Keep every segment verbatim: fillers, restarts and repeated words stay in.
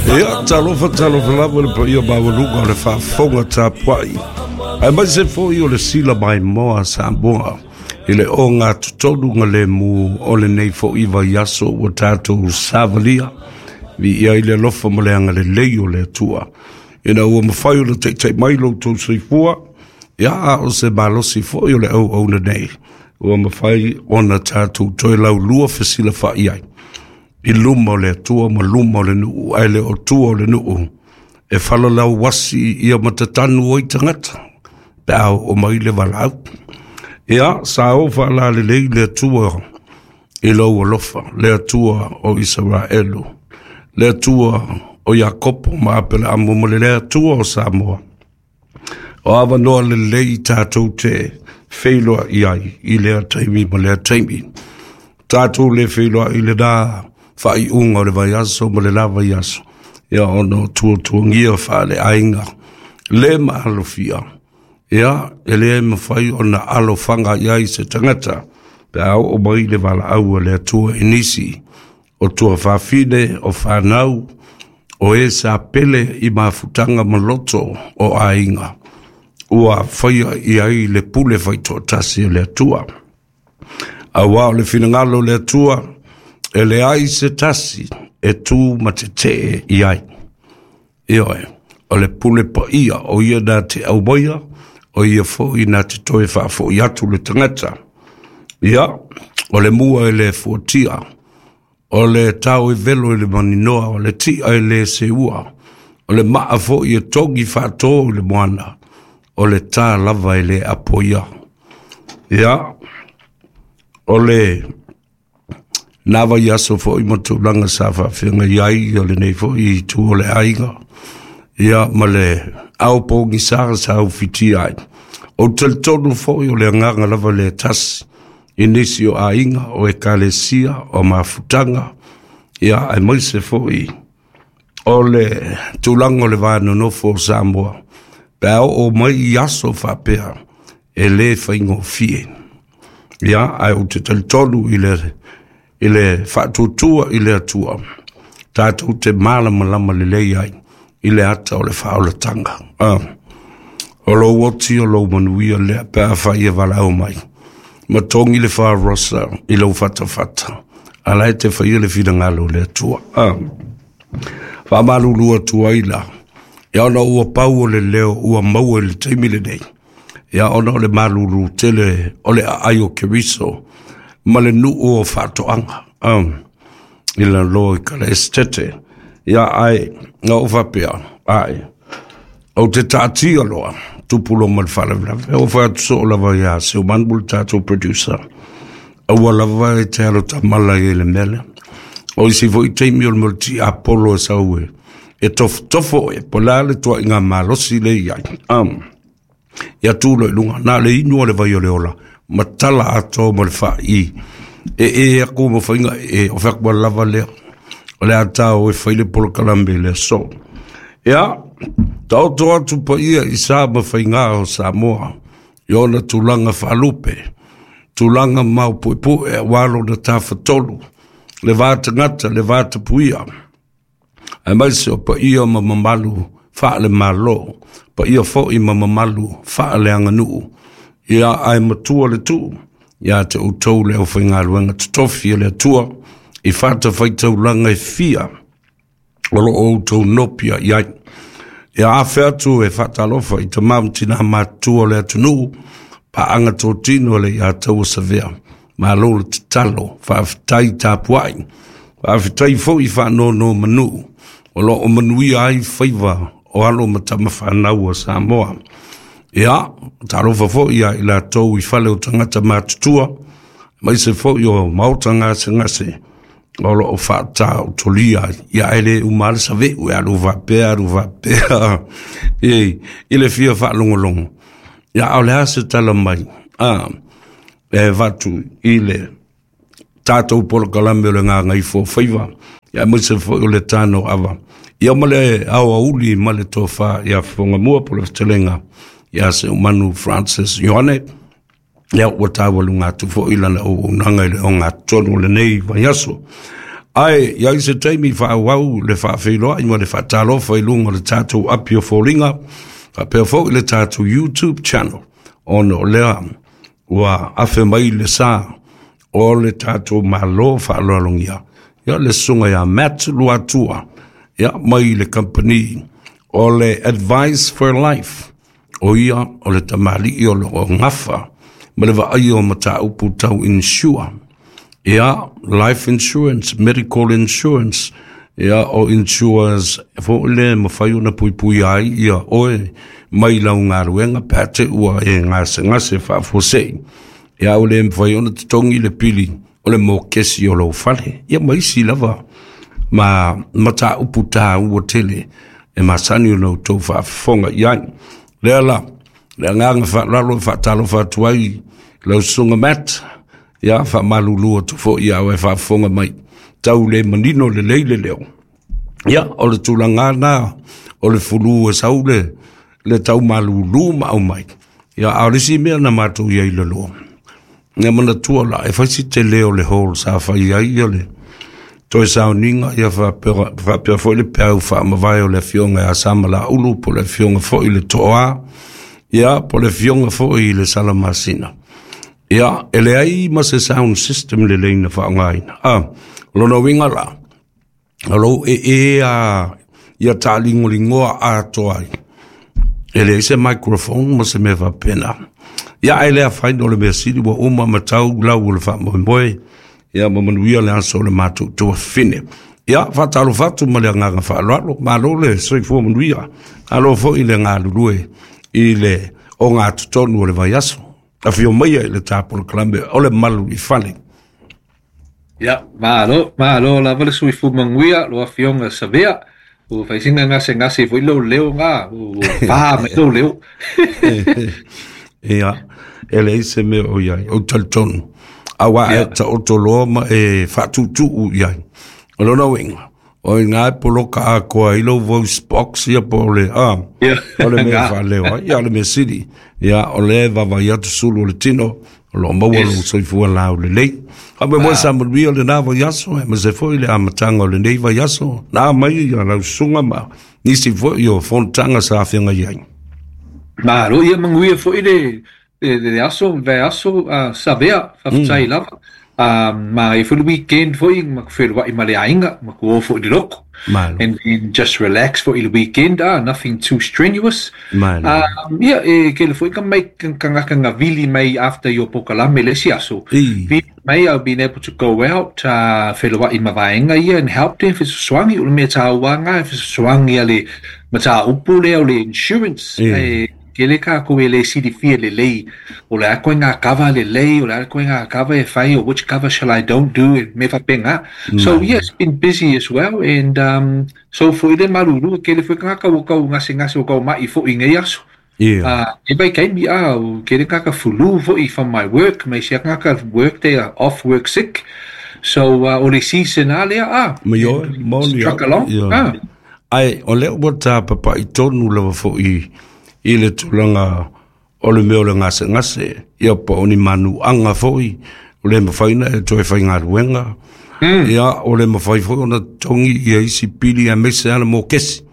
Ia, talofa talofa lava le paia maualuga o le faafofoga tapuai, aemaise foi o le sila maimoa a Samoa i le ogatotonu lemu o lenei foi vaiaso ua tatou savalia. Viia ai le alofa ma le agalelei o le Atua ina ua mafai ona taitai mai lo outou soifua, ia a o se malosi foi o le auauna nei ua mafai ona tatou toe laulua fesilafai ai i luma o le Atua ma luma o le nuu, ae le o tua o le nuu e falalauasi ia matatanu ai tagata pe a oo mai le valaau. Ia, sa o faalalelei le Atua i lou alofa, le Atua o Isaraelu, le Atua o Iakopo ma Apelaamu ma le Atua o Samoa. O avanoa lelei tatou te feiloai ai i lea taimi ma lea taimi. Tatou le feiloai i lena faaiuga o le vaiaso ma le la vaiaso, ia ona o tuatuagia faaleaiga le maalofia, ia e le mafai ona alofaga i ai se tagata pe a oo mai le valaau a le Atua i nisi o tuafafine, o fanau, o e sa pele i mafutaga ma loto o aiga ua faia i ai le pule faitoatasi a le Atua. Auā o le finagalo o le Atua, e leai se tasi e tu ma tetee i ai. Ioe, o le pule paia o ia na te aumaia, o ia foi na te toe faafoi atu le tagata. Ia, o le mua e le fuatia, o le tao e velo i le maninoa, o le tia e le seua, o le maa foi e togi faato i le moana, o le tā lava e le apoia. Ia, o le na vaiaso foi ma tulaga sa faafeagai ai o lenei foi itu o le aiga, ia ma le ao pogisa sa ufitia ai. O talitonu foi o le agaga lava le tasi i nisi o aiga, o ekalesia, o mafutaga, ia aemaise foi o le tulaga o le va nonofo o Samoa, pe a oo mai i aso faapea, e le faigofie. Ia, ae ou te talitonu i le i le faatuatua i le Atua, tatou te malamalama lelei ai i le ata o le faaolataga. Ah, o lou oti o lou manuia lea pe a fai e valaau mai. Ma togi le faarosa i lou fatafata, a la e te faia le finagalo o le Atua. Ah, faamalulu atu ai la, ia ona ua pau o le leo ua maua i le taimi lenei, ia ona o le malulu tele o le aai o Keriso ma le nuu o faatoaga, um, i la loa i kala estete. Ia ai, na o faapea, ai, o te taatia loa, tupu loa ma le faalavelave. O fai atu soo lava ia Seumanu le tatou producer, aua lava e te alo tamala i le mea lea. O isi foi taimi o le mea o le tiapolo e sau e, e tofotofo e, po o le a le tuaiga malosi le i ai. Um, ia tu loa i luga, na le inu o le vai o le ola, ma tala atoa ma le faai. E e aku ma faiga e, o fai aku lava lea. O le a tau e fai le polokalame le aso. Ia, taoto atu paia i sa ma faiga o Samoa, i ona tulaga faalupe, tulaga maupuepue aua lona tafatolu, le va tagata, le va tapuia, aemaise o paia ma mamalu faale-Malo, paia foi ma mamalu faaleaganuu, ia ae matua le tuu, ia te outou le aufaigaluega totofi e le Atua, i fatafaitaulaga e fia o lo o outou nopia i ai. Ia afe atu e faatalofa i tama ma tina matutua o le atunuu, paaga totino le ia taua savea. Malo le tatalo, faafetai tapuai, faafetai foi faanono manu, o lo o manuia ai faiva o alo ma tama fanau a Samoa. Ia, talofa foi ia i latou i fale o tagata matutua, aemaise foi o maota gasegase, o lo o faataotolia ai. Ia e le uma lava le saveu e alu faapea, alu faapea, i, i le fia faalogologo. Ia, a o le a se tala mai, a, e avatu i le tatou polokalame o le Gagaifo Faiva, ia aemaise foi o le tano ava. Ia ma le aoauli ma le tofa ia Fofogamua po o le fetalaiga ia Seumanu Francis Ioane, ia ua taualuga atu foi lana auaunaga i le ogatotonu o lenei vaiaso. Ae i ai se taimi faaauau le faafeiloai ma le faatalofa i luga o le tatou api o foliga faapea foi le tatou YouTube channel, ona o lea ua afe mai le sa o le tatou Malo faaaloalogia, ia le susuga ia Matt Luatua, ia mai le kamupani o le Advice for Life. O ia o le tamalii o loo gafa ma le vaaia o mataupu tau insure, ia life insurance, medical insurance, ia o insurance foi le mafai ona puipuia ai ia oe mai lau galuega pe a te ua e gasegase faafuasei, ia o le mafai ona totogi le pili o le mokesi o lou fale, ia ma isi lava ma mataupu taua tele e masani ona outou faafofoga i ai. Lea la le agaga faaaloalo e faatalofa atu ai lau susuga Matt, ia faamalulu atu foi ia e faafofoga mai tau le manino lelei le leo. Ia o le tulaga na o le fulu e sau le le tau malulu ma au mai. Ia a o le isi mea na matou i ai le loa. Ia manatua la e fai si tele o le hall sa fai ai ia le toe sauniga, ia faapea faapea foi le peau faamavae o le afioga ia Samalaulu, po o le afioga foi i le Toa, ia po o le afioga foi i le Salamasina. Ia, e leai ma se sound system lelei na faaaogaina. Ah, o lona uiga la, o lou ee a ia taaligoligoa atoa ai. E leai se microphone ma se mea faapena. Ia ae le afaina, o le mea sili ua uma ma tau lau o le faamoemoe, ia ma manuia le aso o le matou tuafafine. Ia, faatalofa atu ma le agaga faaaloalo, malo le soifua manuia, alo foi le galulue i le ogatotonu o le vaiaso. Afio maia i le tapolokalame o le Malu i Fale. Ia, malo, malo lava le soifua manuia, lau afioga Savea. Ua fai sina gasegase foi lou leo ngā, ua pā mai lou leo. Ia, e leai se mea o i ai, ou talitonu. Auā e Ia, taoto loa ma e faatuutuu i ai. O lona uiga, o i ina e poloka atoa ai lou voice box, ia po o le, a, ia, o le mea ngā. faaleo ai, ia o le mea sili. Ia, o lea e vaavaai atu sulu o le tino, o loo maua lou Yes. soifua laulelei. Faamoemoe Ah, sa manuia lena vaiaso, aemaise foi le amataga o lenei vaiaso. Na mai ia lau susuga ma nisi foi o fonotaga sa afeagai ai. Malo, ia manuia foi le, le, le aso, le aso, uh, Savea, faafetai Mm. lava. Um, ma e foi le weekend foi, ma ku feloai ma le aiga, ma ku o foi le loko. Malo. And then just relax for le weekend, ah, nothing too strenuous. Malo. Um, ia, e ke le foi ka mai kangaka nga vili mai after your pokalame le isi aso. I. Vili mai, I've been able to go out, uh, feloai ma vaega ia and help them fesoasoani, o le mea tāua ngā, fesoasoani a le mataupu lea o le insurance. I. E, ke le ka ko e le silifia lelei, o le a koe ngā cover lelei, o le a koe ngā cover e whai, or which cover shall I don't do, e me whapenga. So Malo. yeah, it's been busy as well, and um, so fo i le maruru, ke le fo ngaka o kau ngase ngase o kau mai fo i ngei aso. Ia. Uh, e bai kei mi a, o ke le ngaka fulu fo i from my work, mai sia ngaka work day off work sick. So uh, o le season a lea a, Ma ioe, and we moni struck au. along. Ia. Ah, Ae, o lea ua tapapai tonu lava foi i le tulaga o le mea o le gasegase, ia po o ni manuaga foi, o le mafai ona e toe faigaluega, mm, ia o le mafai foi ona totogi ia isi pili aemaise a le mokesi.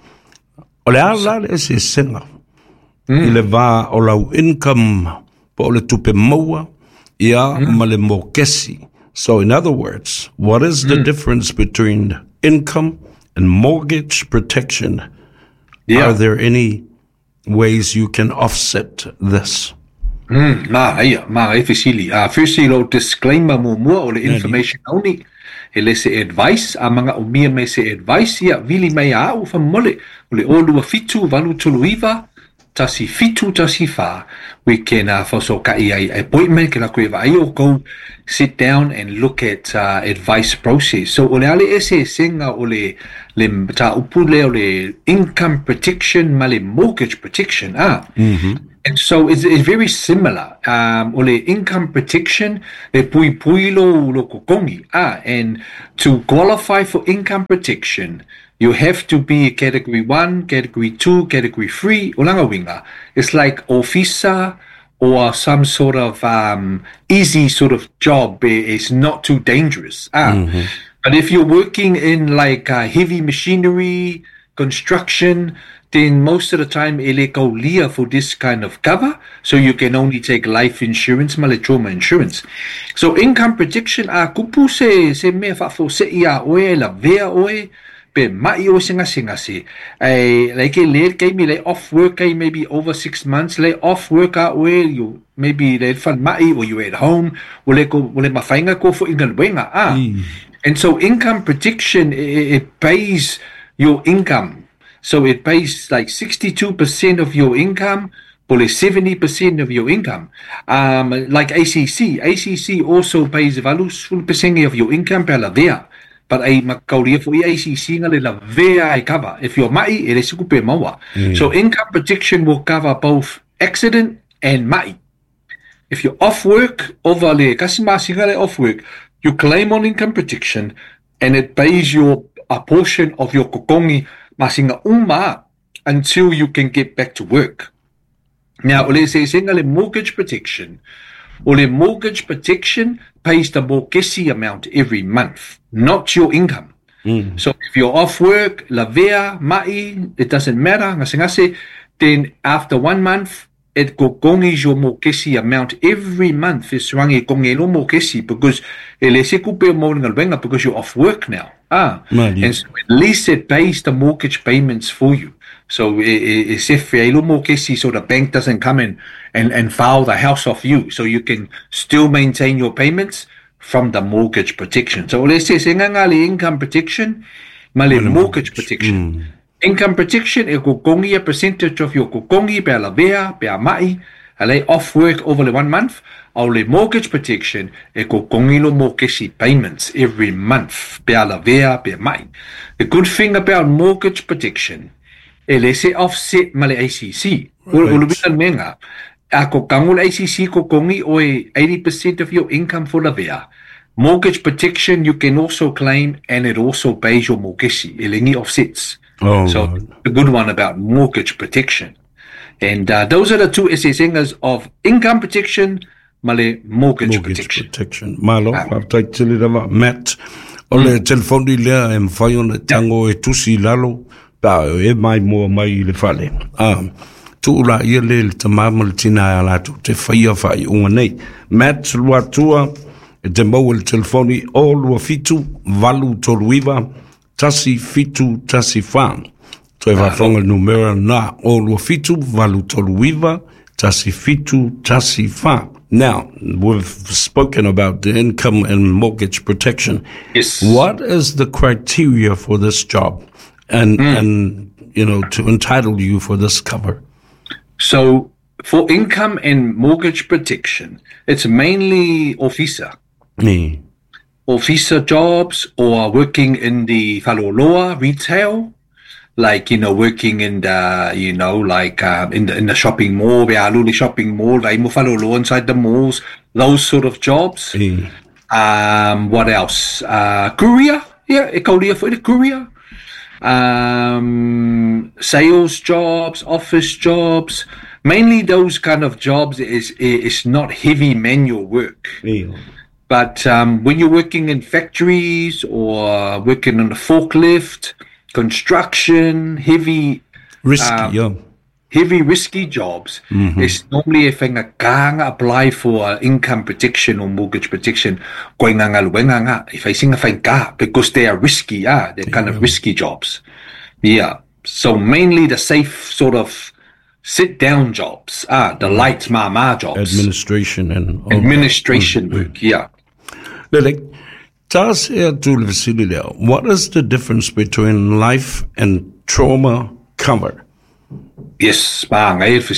O le a la le eseesega i mm, le va o lau income po o le tupe maua, ia mm, ma le mokesi? So in other words, what is the mm. difference between income and mortgage protection? Are Yeah. there any ways you can offset this? Mm, ma ia, ma e fesili. Uh, firstly, lo disclaimer muamua o le Nani. information only. E le se advice, a manaomia mai se advice, ia vili mai a au faamolemole. O le o lua fitu, valu tolu iva, tasi fitu tasi fa. We can uh, faafesootai ai appointment, ke la koe vai o go sit down and look at uh, advice process. So o le a le eseesega o le le mataupu lea o le income protection ma le mortgage protection. Ah, Mm-hmm. And so it's, it's very similar. Um, o le income protection, e puipui lo, lo totogi. Ah, and to qualify for income protection, you have to be category one, category two, category three. O lona uiga. It's like officer or some sort of um, easy sort of job. It's not too dangerous. Ah, Mm-hmm. But if you're working in like uh, heavy machinery, construction, then most of the time e le kaulia for this kind of cover. So you can only take life insurance, ma le trauma insurance. So income protection, a kupu se, se mea faafose'i a oe, lavea oe, pe ma'i oe se gasegase. E, like e le kaimi le off work ai maybe over six months, le off work a oe, you maybe le falemai or you at home, o le, ko, o le mafaiga ko fo inga ah. Mm. And so income protection, it, it pays your income. So it pays like sixty-two percent of your income, or seventy percent of your income. Um, like A C C. A C C also pays valu percent of your income per lavea. But ai makauria for A C C nga le lavea ai cover. If you're ma'i, e le sukupe maua. Mm. So income protection will cover both accident and ma'i. If you're off work, over le kasi masinga le off work, you claim on income protection and it pays your a portion of your kokongi masinga uma until you can get back to work. Now, ole se senga le mortgage protection. Ole mortgage protection pays the mortgage amount every month, not your income. Mm. So if you're off work, lavea, ma'i, it doesn't matter, ngasengase, then after one month, it kokongis your mortgage amount every month. It's rangi kongelo mortgage because ele se kupe mo ngalwenga because you're off work now. Ah, Mali. And so at least it pays the mortgage payments for you. So it's if so the bank doesn't come in and, and foul the house off you. So you can still maintain your payments from the mortgage protection. So let's say income protection, male mortgage protection. Mm. Income protection, e kokongi a percentage of your kokongi pe lavea, pe ma'i, ale off work over the one month, au le mortgage protection, e kokongi lo mortgage payments every month, pe lavea, pe ma'i. The good thing about mortgage protection, e le se offset ma le A C C. Right. Ulu bina menga, a kokangu le A C C kokongi oe eighty percent of your income for lavea. Mortgage protection you can also claim, and it also pays your mortgage, e lengi offsets. Oh, so right. The good one about mortgage protection. And uh, those are the two esesengas of income protection, male mortgage, mortgage protection. protection. Malo, ah. Tele lava, Matt, o le telefoni lea e mwhai ona tango e tusi lalo, pa e mai mua mai le fale. Ah, tuula ia le le tamama le tina a latu, te whaia whai unga nei. Matt, lua tua, e te mau le telefoni o lua fitu, valu tolu iva, tasi fitu tasi wha. Toe whawhanga numera na o lua fitu, valu tolu iva, tasi fitu tasi wha. Now, we've spoken about the income and mortgage protection. Yes. What is the criteria for this job and, mm. and you know, to entitle you for this cover? So, for income and mortgage protection, it's mainly officer. Mm. Officer jobs or working in the faloloa retail, like, you know, working in the, you know, like uh, in the in the shopping mall, the shopping mall, faloloa inside the malls, those sort of jobs. Mm. Um, what else? Uh, courier, yeah, courier for the courier. Um, sales jobs, office jobs, mainly those kind of jobs. Is is not heavy manual work. Yeah. But um, when you're working in factories or working on the forklift, construction, heavy... Risky, um, yeah. Heavy, risky jobs, mm-hmm. It's normally if you apply for income protection or mortgage protection, if I sing a because they are risky, yeah, they're kind yeah. of risky jobs. Yeah. So mainly the safe sort of sit-down jobs, ah, the light mama jobs. Administration and... All Administration that. work, yeah. Lele, what is the difference between life and trauma cover? Yes, life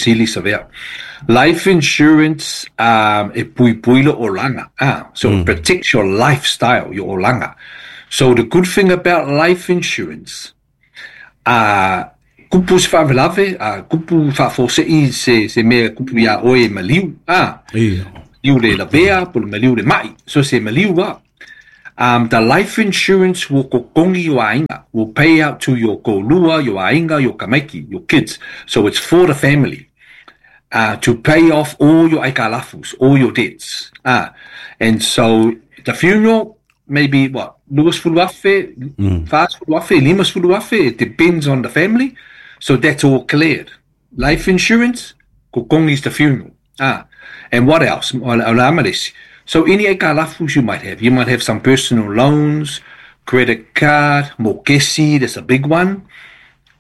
insurance, um, e pui lo olanga. Ah, so mm. it protects your lifestyle, your olanga. So the good thing about life insurance, uh, kupu se whawelave, uh, kupu whawhosei se, se mea kupu ia oe maliu. Ah, yeah. Liu le lavea, po le maliu le mai. So se maliu wa. Um, the life insurance will kokongi your ainga, will pay out to your kolua, your ainga, your kamaiki, your kids. So it's for the family, uh, to pay off all your aikalafus, all your debts. Ah, and so the funeral, Maybe what? Lua sefulu afe, fasefulu afe, limasefulu afe, it depends on the family. So that's all cleared. Life insurance, kokogi is the funeral. Ah, and what else? O le a ma le isi. So any aikalafus you might have. You might have some personal loans, credit card, mokesi, that's a big one.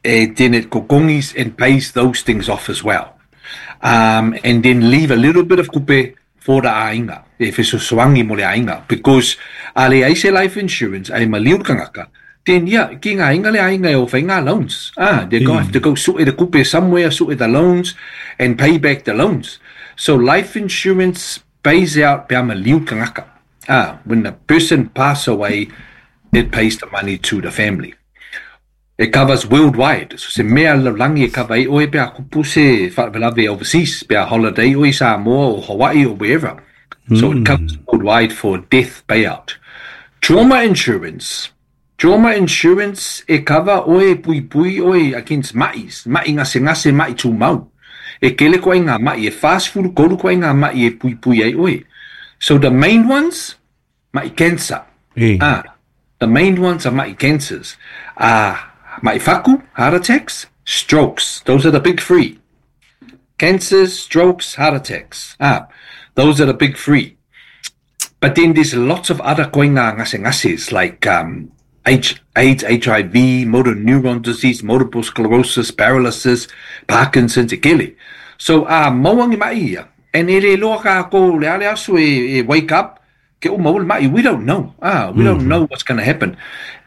And then it kokogis and pays those things off as well. Um, and then leave a little bit of kupe for the aiga, e fesoasoani mo le aiga. Because a leai se life insurance, ae maliu le tagata, then yeah, ki ngā aiga le aiga e o fai ngā loans. Ah, they go have to go sue the kupe somewhere, sue the loans, and pay back the loans. So life insurance pays out pe a maliu le tagata. Ah, when the person pass away, it pays the money to the family. It covers worldwide. So se mea lalolagi e cover ai oe pe a kupu se faalavelave overseas, pe a holiday oe Samoa or Hawaii or wherever. So it covers worldwide for death payout. Trauma insurance. Trauma insurance e cover oe puipui oe against ma'is, ma'i gasegase, ma'i tumau. E kele koa i ngā ma'i, e fasefulu tolu koa i ngā ma'i e puipui ai oe. So the main ones, ma'i cancer. E. Ah, the main ones are ma'i cancers. Ah, ma'i faku, heart attacks, strokes. Those are the big three. Cancers, strokes, heart attacks. Ah, those are the big three. But then there's lots of other koinga ngasengases like um, H, AIDS, HIV, motor neuron disease, multiple sclerosis, paralysis, Parkinson's, e kele. So, a uh, maua ni ma'i ia. And e le loa ka ko le ale aso e, e wake up, ke o maua le ma'i. We don't know. Ah, we don't know what's going to happen.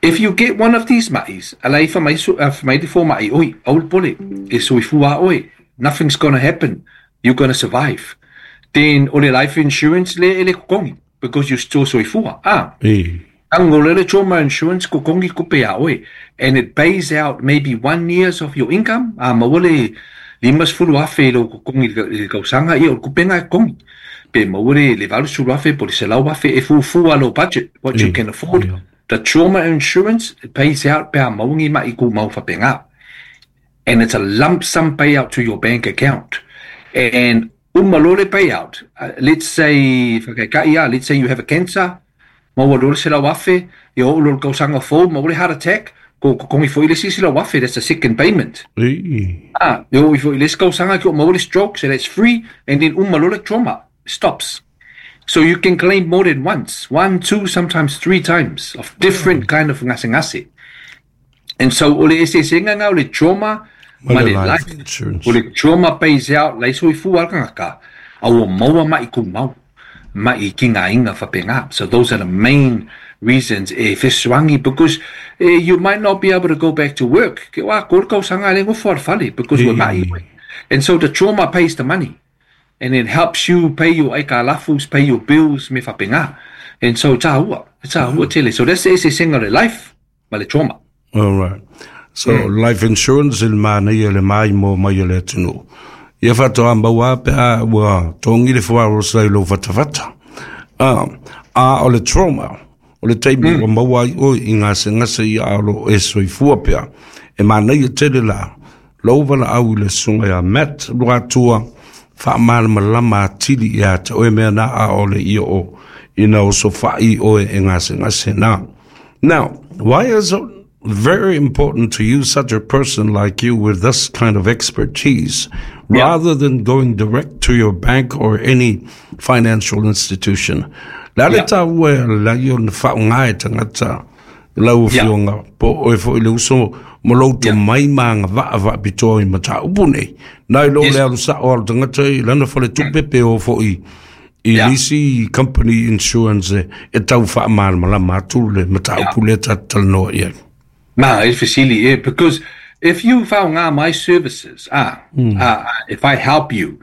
If you get one of these ma'is, ala i whamai su, uh, whamai te fō ma'i, oi, aul pole, e soifua oe, nothing's going to happen. You're going to survive. Then, o le life insurance le e le kokongi, because you still soifua. Ah, E. Ang le trauma insurance kokongi kupe a oe. And it pays out maybe one years of your income. Ah, maua le limasefulu afe i lo kokongi i le tausaga ia o le kupega e kokongi. Pe maua le le valusefulu afe po le selau afe e fuafua lo budget, what you E. can afford. Yeah. The trauma insurance, it pays out pe a maua ma'i tumau faapena. And it's a lump sum payout to your bank account. And uma loa le payout. Uh, let's say, whakaikai ia, let's say you have a cancer, maua loa le selau afe, ia oo loa le tausaga fou, maua le heart attack, ko kokongi foi le isi selau afe, that's the second payment. E. Ah, ia oo ifo i le isi tausaga ki o maua le stroke, so that's free, and then uma loa le trauma stops. So you can claim more than once, one, two, sometimes three times of different kind of gasegase. And so o le eseesega lena o le trauma Ma ma le le life life. insurance. O le trauma pays out, lai soifua le tagata, a ua maua ma'i tumau, ma'i kigaina faapena. So those are the main reasons e fesoasoani because eh, you might not be able to go back to work. Ke wa ko le tausaga le gofo le fale because ua ma'i oe. And so the trauma pays the money. And it helps you pay your aikalafus, pay your bills, me faapena. And so tāua, tāua tele. So that's the eseesega o le life, ma le trauma. All right. So life insurance il manaia le mai mo mai o le atunuu. Ia faatoa maua pe a ua togi le fuarosa i lou fatafata. Ah, a o le trauma, o le taimi ua maua ai oe i gasegase ia a o loo e soifua pea. E manaia tele la, lou valaau i le susuga ia Matt Luatua, faamalamalama atili ia te oe mea na a o le ia o ina osofai oe e gasegase na. Now, why is it very important to use such a person like you with this kind of expertise Yeah. rather than going direct to your bank or any financial institution? Le ale Yeah. tāua e lai o na faaaoga e tagata lau Yeah. afioga po oe foi le uso ma lou tomai ma agavaa faapitoa i mataupu nei. Nai lo Yes. le alu sao a le tagata i lana faletupe pe o foi i Yeah. nisi company insurance e, e tau faamalamalama atu le mataupu lea tatou talanoa i ai. Ma, e fesili, eh, because if you faaaoga my services, ah, uh, if I help you,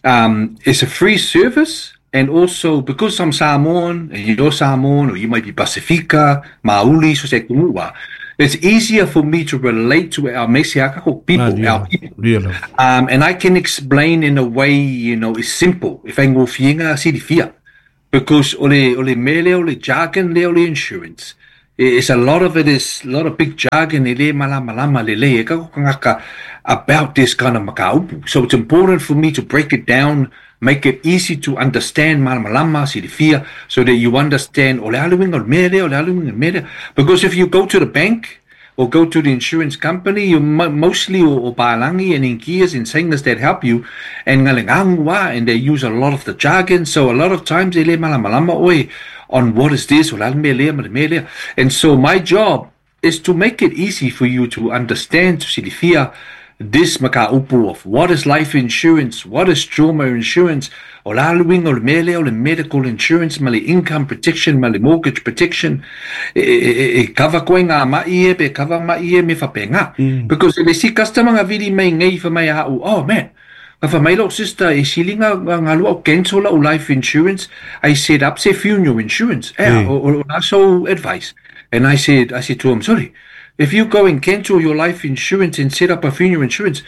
um, it's a free service, and also because I'm Samoan and you're Samoan, or you might be Pasifika, Maoli, so se kumua, it's easier for me to relate to our Mesiakako people, our people. Really. Um, and I can explain in a way, you know, it's simple. If I go fienga silifia. Because ole ole mele ole jargon le ole insurance. It's a lot of it is a lot of big jargon e le malamalama lelei e ka kangaka about this kind of mataupu. So it's important for me to break it down, make it easy to understand malamalama, silifia, so that you understand o le a le uiga o le mea lea, o le a le uiga o le mea lea. Because if you go to the bank or go to the insurance company, you mo- mostly o, o palangi and inkias and singers that help you, and ngalengangu and they use a lot of the jargon. So a lot of times e le malamalama oe on what is this, o le a le mea lea ma le mea lea. And so my job is to make it easy for you to understand, to silifia, this mataupu of what is life insurance, what is trauma insurance, o le a le uiga o le mea lea o le medical insurance, ma le income protection, ma le mortgage protection, e, e, e, e cover koe ngā mai e, pe cover mai e me whapenga. Mm. Because e le si customer nga vili mai ngei wha mai au, oh man, ka wha mai lo sister, e silinga ngā lua o cancel o life insurance, I set up se funeral insurance. Eh, mm. o, o, o so advice. And I said, I said to him, sorry, if you go and cancel your life insurance and set up a funeral insurance,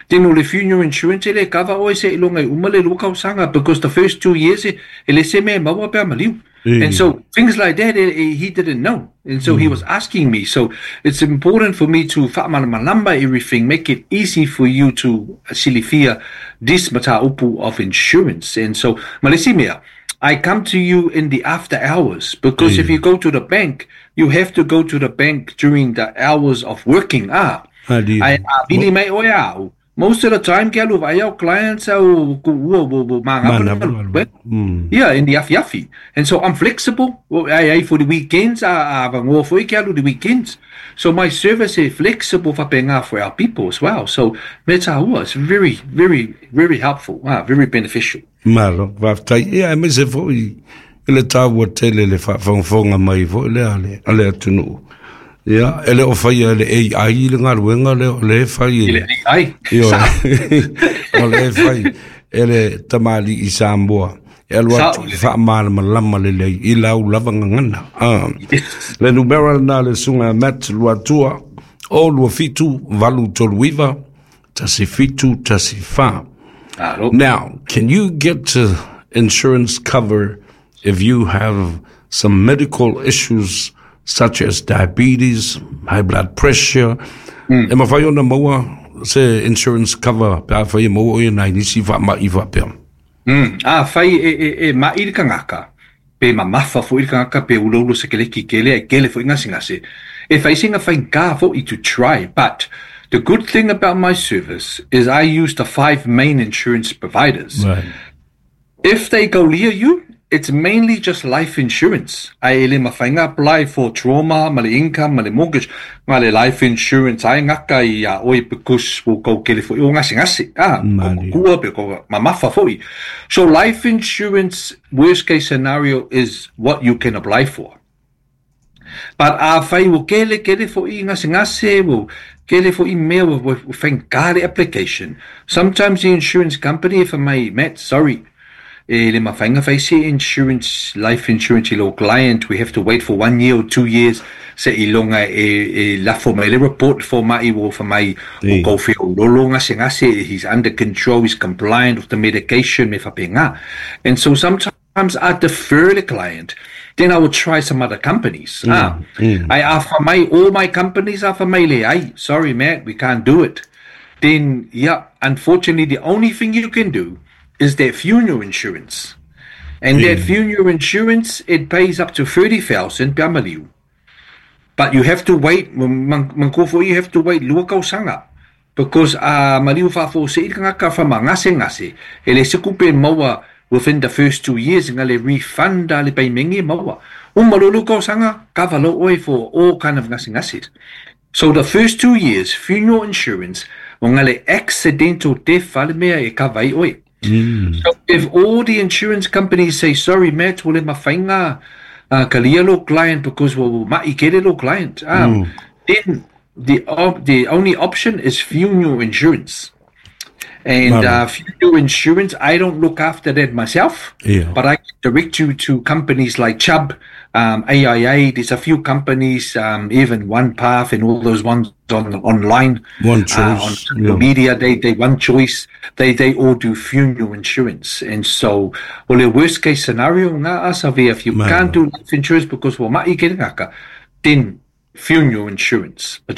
then o le funeral insurance e le cover oe se ilonga i uma le lua kausaga, because the first two years e, e le se me maua pea maliu. Mm. And so things like that, eh, eh, he didn't know. And so mm. he was asking me. So it's important for me to whaamalamalama everything, make it easy for you to silifia this mataupu of insurance. And so, malesi mea, I come to you in the after hours, because mm. if you go to the bank, you have to go to the bank during the hours of working. Ah, I vili mai oe au. Most of the time, ke alu vai au clients au ku ua wo wo manga. Yeah, in the afi afi. And so I'm flexible. I, I for the weekends, I I vangoa foi ke alu the weekends. So my service is flexible whapenga for our people as well. So me tāua, it's very, very, very helpful. Ah, very beneficial. Malo, waftai. Ia, e me se foi e le tāua tele le whaafongafonga mai foi le ale, ale atunu. Ia, ele o whai le A I le ngaruenga le o le whai. Le A I. Io, o le whai ele tamali i Samoa. E alu atu i whaamalamalama le lei i lau lava ngangana. Ah. Le numera na le sunga Matt Luatua o lua fitu valu tolu iva tasi fitu tasi wha. Now, can you get uh, insurance cover if you have some medical issues such as diabetes, high blood pressure? Mm. E mawhai ona maua se insurance cover pe a whai e maua oe nai nisi wha ma i wha pea. Mm. A whai e, e, e ma i kangaka, pe ma mawha fo i kangaka, pe ulo ulo se keleki kele, e kele fo i ngasi ngasi. E whai singa whai ngā fo i to try, but the good thing about my service is I use the five main insurance providers. Right. If they go near you, it's mainly just life insurance. I ele mawhainga apply for trauma, ma le income, ma le mortgage, ma le life insurance. Ai ngaka i a oi because wo kau kele fo i o ngasi ngasi. Ah, kua pe ko mamafa fo i. So life insurance, worst case scenario, is what you can apply for. But a whai wo kele kele fo i ngasi ngasi, wo kele fo i mea wo whangare application. Sometimes the insurance company, if I may, Matt, sorry, e le mawhainga whaise insurance, life insurance i lo client, we have to wait for one year or two years se i longa e, e lafo mai le report for mai wo for mai o kau whio lolo ngase ngase, he's under control, he's compliant with the medication me whapenga. And so sometimes I defer the client. Then I will try some other companies. Mm, ah, mm. I offer my, all my companies are for my le, ay, sorry Matt, we can't do it. Then, yeah, unfortunately, the only thing you can do is that funeral insurance. And Yeah. that funeral insurance, it pays up to thirty thousand pea maliu. But you have to wait, mangkofo, you have to wait lua kausanga. Because uh, maliu whaafo se ika ngaka whama ngase ngase, e le sekupe maua within the first two years, nga le refund a le paimengi maua. Umalulu kausanga, kava lo oe for all kind of ngase ngase. So the first two years, funeral insurance, o nga le accidental death wale mea e kawai oe. Mm. So if all the insurance companies say, sorry, Matt, wale mawhainga uh, kalia lo client because wa mai kere lo client, um, mm. then the, uh, the only option is funeral insurance. And uh, funeral insurance, I don't look after that myself, yeah. but I can direct you to companies like Chubb, um, A I A. There's a few companies, um, even OnePath and all those ones on online. One Choice. Uh, on social yeah. media, they, they One Choice. They, they all do funeral insurance. And so, well, the worst case scenario, nga asavi, if you Man. can't do life insurance because well, mai kere ngaka, ten funeral insurance.